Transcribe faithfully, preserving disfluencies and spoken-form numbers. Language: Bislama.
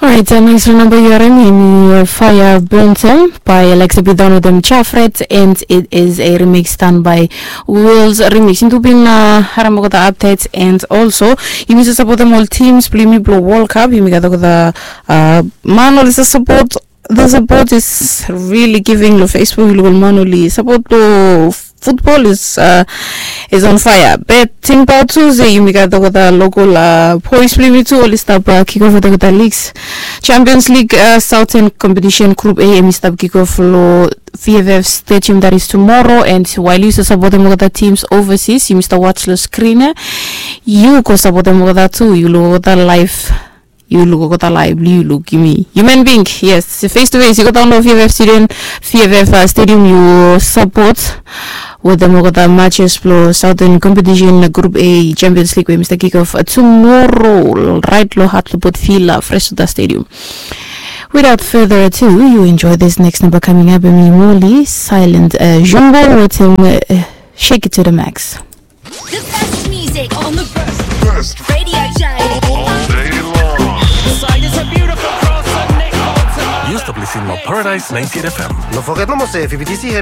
Orait, neks namba yu harim hemi Fire Burnt Em by Alexa Bidon wetem Jafret, and it is a remix done by Wills Remix. Yumi tu bin harim olgeta updates, and also yumi save sapotem ol teams blong yumi blong World Cup. Yumi gat olgeta man oli save sapot. The support is really giving long Facebook. Yu luk ol man oli sapot long football is uh, is on fire. But tingbaot tu se yumi gat olgeta local uh, boys blong yumi tu oli stap uh, kick off wetem olgeta leagues. Champions League uh, Southern Competition Group A hemi stap kick off long V F F Stadium, that is tomorrow, and while yu save sapotem olgeta teams overseas, yumi stap watch long screen ia. Yu go sapotem olgeta tu, yu luk olgeta live. Yu luk olgeta live blong yu, yu luk yumi human being. Yes, face to face yu go daon long V F F Stadium, V F F uh, Stadium yu sapot wetem olgeta matches blong Southern Competition Group A Champions League we hemi stap kick off uh, tomorrow, right long Hartlepoort Villa, Freswater Stadium. Without further ado, you enjoy this next number coming up. Hemi Molly, Silent uh, Jumbo wetem uh, Shake It to the Max. The best music on the best radio show. All day long. Side is a beautiful cross and Nick Bolton. Yu stap listening long Paradise ninety-eight F M. No foget nomo se V P T C hemi